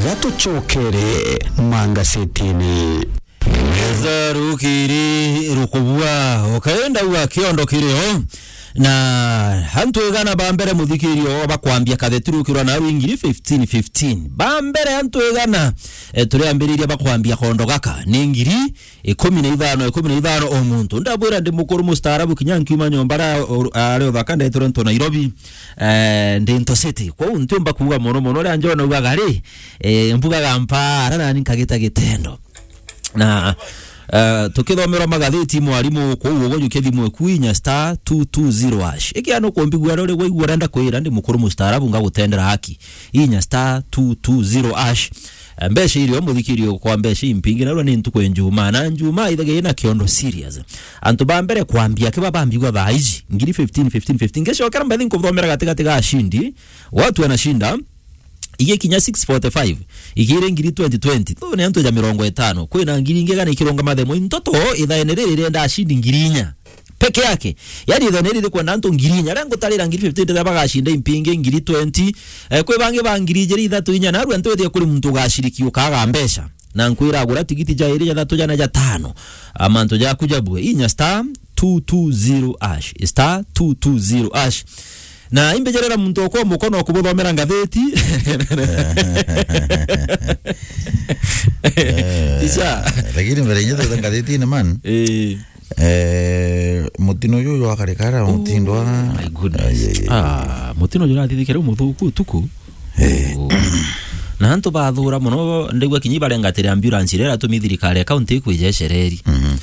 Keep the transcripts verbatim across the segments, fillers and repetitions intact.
Gatucokere mangasetini. Neza rukiri rukubua, ukaenda uga kiondo kirio. Na antu igana ba mbere muthikirio bakwambia katheti rukirwa na rwingiri fifteen fifteen. Ba mbere antu igana, eh, turiambiriria bakwambia kondo gaka ni ngiri ikumi na ithano, ikumi na ithano o muntu. Ndabwira ndi mukuru mustaarabu kinya nkiuma nyomba ra, ari uthaka ndetire nto Nairobi, eh, ndi nto city. Kwou ntiumba kuuga mono mono, ria njona ugaga ri, eh, mbugaga mpa, ara nani nkagita gitendo. Na, eh, tukithomerwa magatheti mwarimu kuu ugo jukia thimu eku inya star two two zero hash. Ikiana ukumbigua ri uri waigua urenda kwira ndi mukuru mustaarabu ngagutendera haki. Inya star two two zero hash. Eh, mbeca irio muthikirio kwa mbeca impingi, narua ni ntuku ya Njumaa. Na Njumaa ithagia ina kiondo serious. Antu ba mbere kwambia kiba bambigwa thaa iji, ngiri fifteen, fifteen, fifteen. Ngecokera mbethi nkuthomera gatigati ga ashindi. Watu wanashinda, igikinya six forty-five, igire ngiri twenty twenty. Thu ni antu ja mirongo itano. Kwina ngiri ingi gana ikirunga mathemo. Ntoto ithaene riri rienda ashindi ngiri inya peke yake. Yani, ithene riri kwenda antu ngiri inya. Aria ngutarira ngiri fifteen, ndira bagacinda impingi ngiri twenty. Eh, kwi bangi ba ngiri ijiri, ithatu, inya, narua ntwithie kuri muntu ugaciriki ukaga mbeca. Na nkwira agura tigiti ja iri, ja thatu, jana, ja tano. Amantu jaku jabue. Inya star two two zero hash. Star two two zero hash. Na imbejerera muntu okwa mukono kubuthomera ngatheti. Eh, Tisha. Lakini mbere inye tuta ngatheti ni man. Eh. Eh, mutino juju jwa karikara, mutindo wa my goodness. Ai, ai, ai. Ah, mutino jurathithikire umuthuku utuku. Eh. Oh. Na antu bathura muno, ndigua kinyi barengatire ambulance iria iratumi thirikari ya county ikwijecereri. Mhm.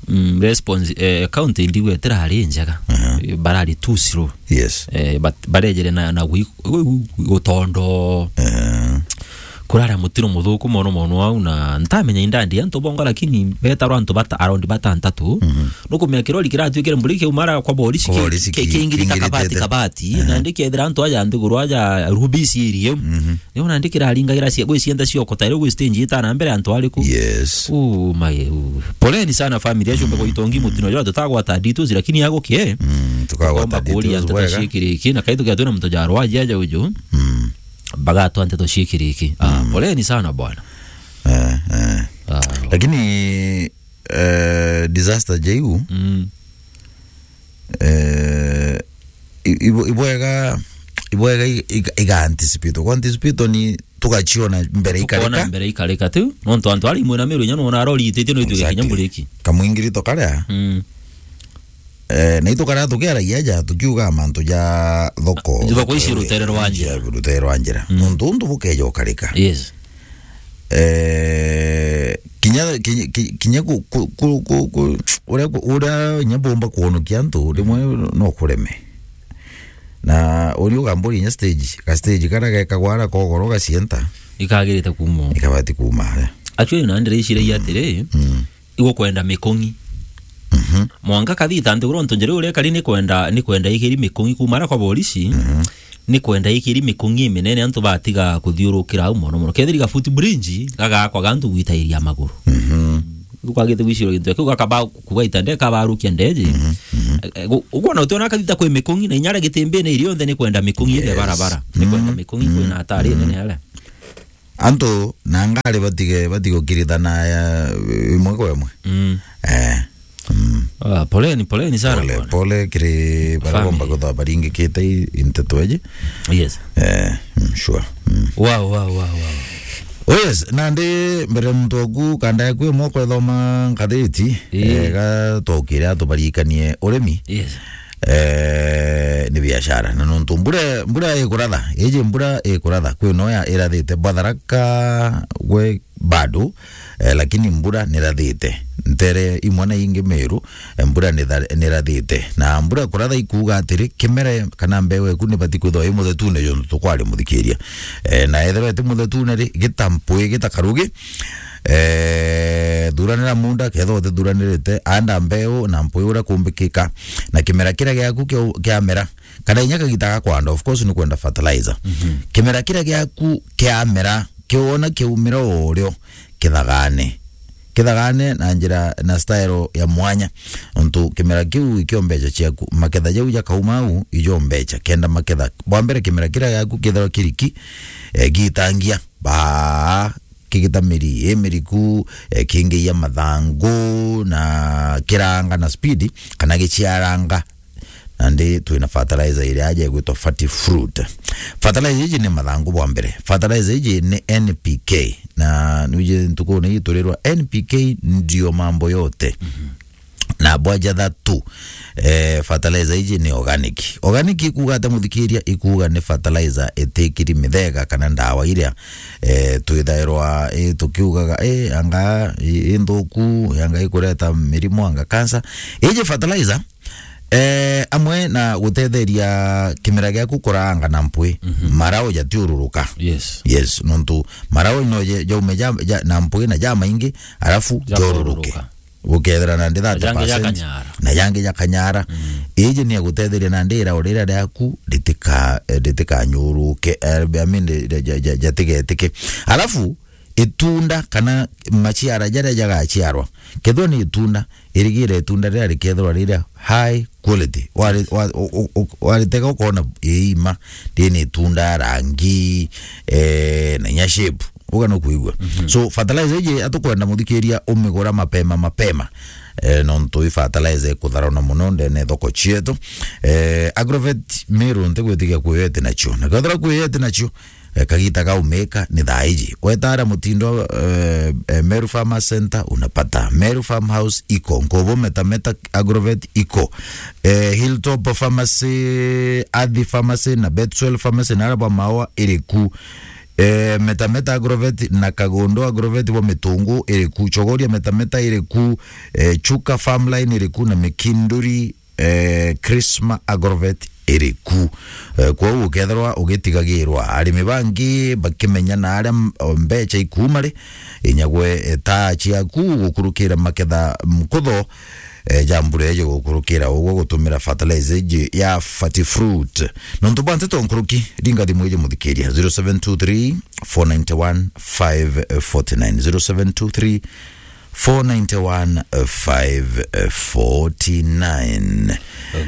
Mm, response, eh, county ndigua itirari njega. Mhm. Barari too slow. Yes. Eh, but barejere na, na gwi-, gwi-, gwi-, gutondo. Eh. Kurara mutino muthuku mono mono au, na ntamenya indandi antu bonga, lakini betarwa antu bata, around batantatu. Mhm. Nukumenya kirori kiratuikire mburi kiumara kwa borisi. Kwa ki-, borisi ki-, ki-, kingirita kingirite kabati, kabati. Aha. Na ndikethira antu aja nthiguru aja Rubisi area. Mhm. Niona ndikiraringagira cia gwicienda ciokota iri gwi stage itana mbere antu ariku. Yes. Oh my, oh. Poleni sana family acio, mm, mbego itongi mutino jwa tutagwata details, lakini agukie. Mm, tukagwata details bwega. Tukomba kuria nteto ciikiriki, na kaithu kia twina muntu jarwa aja uju. Mm. Bagatwa nteto ciikiriki. Ah, mm, poleni sana bwana. Eh, eh. Ah. Lakini, eh, disaster jeu, mm, eh, i-, ibo-, ibwega, ibwega i-, iga-, iga anticipate. Kwa anticipate ni tugaciona mbere ikarika. Tukona mbere ikarika tu. Nontu antu ari imwe na miru inya nona arori itite no itwike kinya, exactly, mburiki. Kamwingirito karia. Mm. Eh, na itukaria tukiaragia ja, tukiuga mantu ja thoko. Thoko ici rutere rwa njira. Rutere rwa njira. Mm. Nontu untu bukeja ukarika. Yes. Eh, kinya, kinya, ki-, kinya ku-, ku-, ku-, ku-, ku-, uria ku-, uria inya bumba kwonokia antu, rimwe no kureme. Na uri ugamburi inya stage, ka stage karia gekagwa ara kogoro gacienta. Ikagirite kuuma. Ikabati kuuma aria. Actually, na ndire iciragia atiri, mm, igukwenda mikung'i. Mhm. Mwanka kathita nthiguru ntu njira uria kari ni kwenda, ni kwenda ikiri mikung'i kuuma ara kwa borisi. Mhm. Ni kwenda ikiri mikung'i iminene antu batiga kuthiurukira au mono mono. Kethiri ga footbridge gagakwa gantu gwitairia maguru. Mhm. Ukwagite gwicirwa gintu kiu gakaba kugaita nde kabarukia ndeji. Mhm. Mhm. Eh, eh, gu-, ukwona utiona kathita kwi mikung'i na inya aria gitimbine irio nthe ni kwenda mikung'i ile, yes, barabara. Ni kwenda, mhm, mikung'i, mhm, kwina hatari, mhm, nene aria. Antu na ngari batige, batige gukirithana ya imwe kwa imwe. Mm. Eh. Mm. Ah, poleni, poleni sana, pole, bwana. Pole kiri baria, family, bomba kutha baringikite i-, i nteto eji. Yes. Eh, mm, sure. Mm. Wow, wow, wow, wow. Oh, yes, nandi mbere muntu oku kanda yaku imwe kwethoma ngatheti, ii, eh, ga twokire atubarikanie urimi. Yes. Eh, ni biashara. Na nontu mbura, mbura ikuratha, iji mbura ikuratha, kwi noya irathite Batharaka gwe bado, eh, lakini mbura nirathite. Ntere imwe na ingi Meru, eh, mbura nitha-, nirathite. Na mbura kuratha ikuuga atiri, kimera kana mbeu eku nibati kwithwa i muthetune jontu tukwari muthikiria. Eh, na ethirwa iti muthetune ri, gita mpui, gita karugi, eh, thuranira munda, kethirwa utithuranirite, anda mbeu na mpui uria kumbikika, na kimera kiria giaku kiu-, kiamera, kana inya kagita ga kwanda, of course, ni kwenda fertilizer. Mhm. Kimera kiria giaku kiamera, kiona kiumira o urio, kithagane. Kithagane na njira, na style ya mwanya. Nontu kimera kiu ikio mbeca ciaku, maketha jau jakauma au, ijo mbeca, kenda maketha. Bwa mbere, kimera kiria giaku kithirwa kiriki, eh, gitangia. baa, kigita miri, i miriku, eh, kingiia mathangu, na kiranga na speed, kana giciaranga. Nandi twina fertilizer iria aja igwitwa Fertifruit. Fertilizer iji ni mathangu bwa mbere. Fertilizer iji ni N P K. Na nuje ntukuni iji turirwa N P K ndio mambo yote. Na bwajatha tu, eh, fertilizer iji ni organic. Organic ikuuga ata, muthikiria? Ikuuga ni fertilizer itikiri mithega kana ndawa iria, eh, twithairwa, eh, tukiugaga, eh, anga i, i nthuku, anga ikureta mirimo, anga cancer. Iji fertilizer, eh, amwe na gutetheria kimera giaku kuraanga na mpwi, marau jatiururuka. Yes. Yes, nontu marau no je-, jaume ja, ja, na mpwi na jamaingi, alafu joruruke. Jakururuka. Gukethira nandi thirty percent. Na jangi jakanyara. Na jangi jakanyara. Iji ni agutetheria nandi irau riria riaku ritika-, eh, ritikanyuruke, eh, I mean, ri-, ja-, ja-, jatigetike. Alafu, itunda kana maciara jaria jagaciarwa, kethirwa ni itunda, irigire itunda riria rikethirwa riria high quality. Wari-, wa-, u-, u-, u-, waritega ukona iima, riri ni itunda rangi, eh, na inya shape. Uga no kuigua. So, fertilizer iji atukwenda muthikiria umigura mapema mapema. Eh, nontu i fertilizer ikutharana muno ndene thoko cietu. Eh, Agrovet Meru ntigwitikia kwiyeti nacio. Na kethira kwiyeti nacio, eh, kagita gaumika ni thaa iji. Wetara mutindo, eh, eh, Meru Farmers Center unapata. Meru Farmhouse iko. Nkobo Meta Meta Agrovet iko. Eh, Hilltop Pharmacy, Athi Pharmacy na Betwell Pharmacy na araba Maua iriku. Eh, Meta Meta Agrovet na Kagondo Agrovet bo Mitungu iriku. Chogoria Meta Meta iriku. Eh, Chuka Farmline iriku na Mikinduri, eh, Krisma Agrovet iriku. Eh, kwou ukethirwa ugitigagirwa arimi bangi bakimenya na aria m-, o mbecha ikuuma ri, inyagwe, eh, taa ciaku gukurukira maketha mkutho, eh, ja mbura iji gukurukira ugwo gutumira fertilizer iji ya Fertifruit. Nontu bwa nteto nkuruki, ringa thimu iji muthikiria, zero seven two three, four nine one, five forty nine, zero seven two three, four nine one, five forty nine.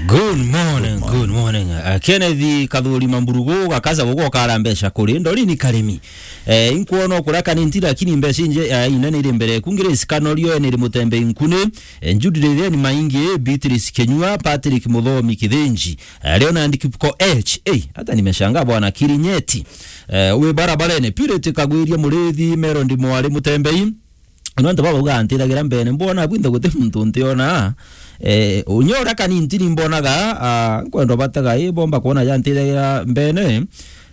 Good morning, good morning. Uh, Kenneth Kathuri Mamburugu, gakaza gugo kara mbeca kuri Ndori ni Karimi. Eh, inkuona okura kanini, lakini mbeca inje, eh, inene iri mbere. Kungire sikanorio, ene iri Mutembei Nkune, eh, Judy Ritheni Maingi, Beatrice Kenyua, Patrick Muthomi Kithinji, eh, Leonard Kipko H. Eh, hata nimeshangaa bwana Kirinyeti. Eh, uwe barabarene, Purity Kagwiria Murithi, Merondi Mwari Mutembei. Nontu baba uga antithagira mbene, mbona bwinthe guti muntu ntiona. Eh, unyora kanini ntini mbonaga, ah, nkwenda bataga, eh, bomba kuona ja ntithagira mbene.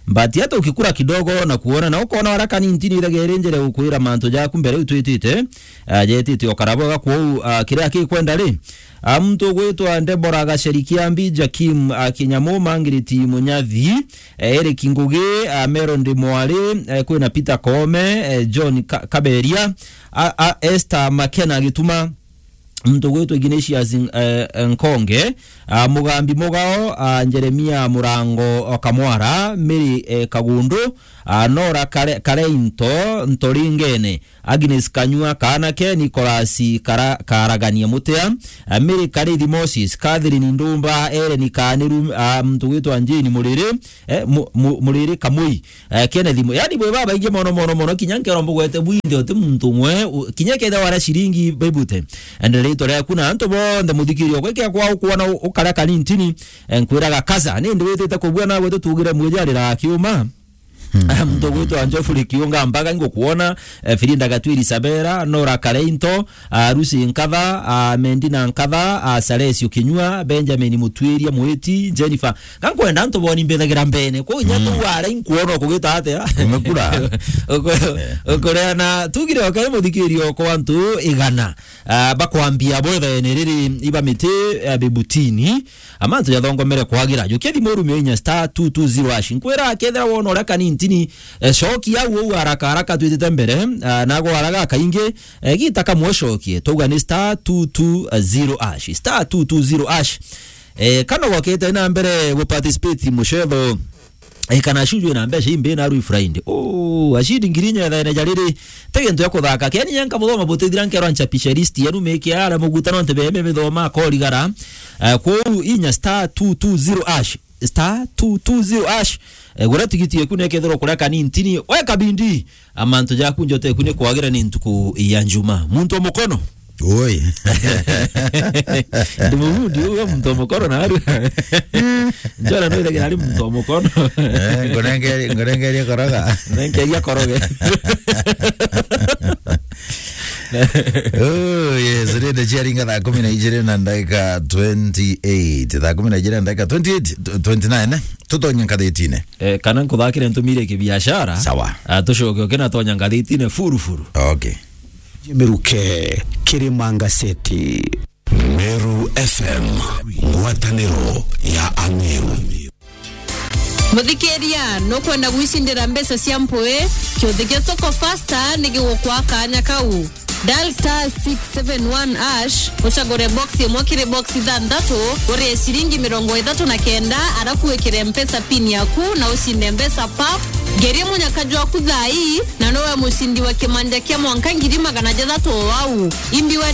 But hata ukikura kidogo na kuona, na ukona wara kanini ntini ithagia iri njere gukwira mantu jaku mbere utwitite, ah, jetite okara bwega kwou, ah, kiria kikwenda ri. Ah, muntu ugwitwa Deborah Gaceri Kiambi, Jakim, ah, Kinyamu, Mangiriti Munyathi, eh, Eric Ngugi, ah, Merondi Mwari, eh, kwina Peter Koome, eh, John Ka-, Kaberia, a, a, Esther Makena Gituma, muntu ugwitwa Ignatius N-, eh, Nkonge, ah, Mugambi Mugao, ah, Jeremia Murango o Kamwara, Mary, eh, Kagundu, ah, Nora Kare-, Kareinto, Ntoringene, Agnes Kanyua, Kaanake, Nicholas Kara-, Karagania Mutea, ah, Mary Karithi Moses, Catherine Ndumba, Ellen Kaniru, ah, muntu ugwitwa Jane Muriri, eh, Mu-, Mu-, Muriri Kamui, eh, Kenneth Mu-, yani bwe babaingi mono, mono, mono, kinya nkero mbugwete bwinthe uti muntu umwe, u-, kinya ketha wara ciringi baibute. Ende ritwa riaku na antu bonthe muthikirio gwe kia kwa ukuona u-, ukara kanini ntini, eh, nkwiraga kaza, ni ndi witite kubua nawe tutugire mwijarira kiuma. Ah, muntu ugwitwa Geoffrey Kiunga Mbaga, ngukuona, eh, Firinda Gatwiri Sabera, Nora Kareinto, ah, Lucy Nkatha, ah, Mendina Nkatha, ah, Salesio Kinyua, Benjamin Mutwiria Mwiti, Jennifer. Gankwenda antu boni mbithagira mbene. Kwou inya tu wara inkuona ukugita atia? Umekura. Uku-, ukureana, tugire okari muthikirio kwa antu igana, ah, bakwambia bwethaene riri iba miti, ah, bibutini. Amantu jathongomere kwagira. Jukia thimu urumio inya star two two zero hash. Nkwira akethira wona uria kanini ntini, eh, cokia au au haraka haraka twitite mbere, ah, na gwaraga kaingi, eh, gita kamwe cokie. Twauga ni star two two zero hash. Star two two zero hash. Eh, kana gwakite na mbere gu participate mucetho. Eh, kana acujwe na mbeca imbi na rui Friday. Oh, acidi ngiri inya ethene jariri. Te gintu ya kuthaka. Keni nyenka buthoma butithira nkero nchapisha list yenu meke ara muguta no ntebe mebe thoma korigara. Eh, kwou inya star two two zero hash. star two two zero hash. Eh, gura tigiti eku nekethirwa kuria kanintini, weka bindi, amantu jaku njote eku ni kwagira ni ntuku ya njuma. Muntu wa mukono. Oi. Ndi mubundi uwe muntu wa mukono na aru. Njora no ithagira ari muntu wa mukono. Eh, ngonengeria, ngonengeria koroga. Nengeria koroge. Oh, yes, rende ciaringa thaa kumi na ijiri na ndagika twenty-eight. Thaa kumi na ijiri na ndagika twenty-eight, twenty-nine, eh? Tutonye ngathitine. Eh, kana nkuthakire ntumire kibiashara. Sawa. Ah, tucoke ukina tonya ngathitine furu furu. Okay. Jimiruke, Kirima Ngaseti. Meru F M, ngwataniro ya Ameru. Muthikiria, nukwenda gwicindira mbeca cia mpui? Kiuthi kia Soko Fasta ni gigukwa kanya kau. Dial star six seven one hash, ucagure box imwe kiri box ithanthatu, urie ciringi mirongo ithatu na kenda, arafu wikire mpesa pin yaku na ucinde mbeca pap. Ngerie munyaka jwaku thaa ii, na nowe mucindi wa kimanja kia mwanka ngiri magana jathatu o au. Imbi wa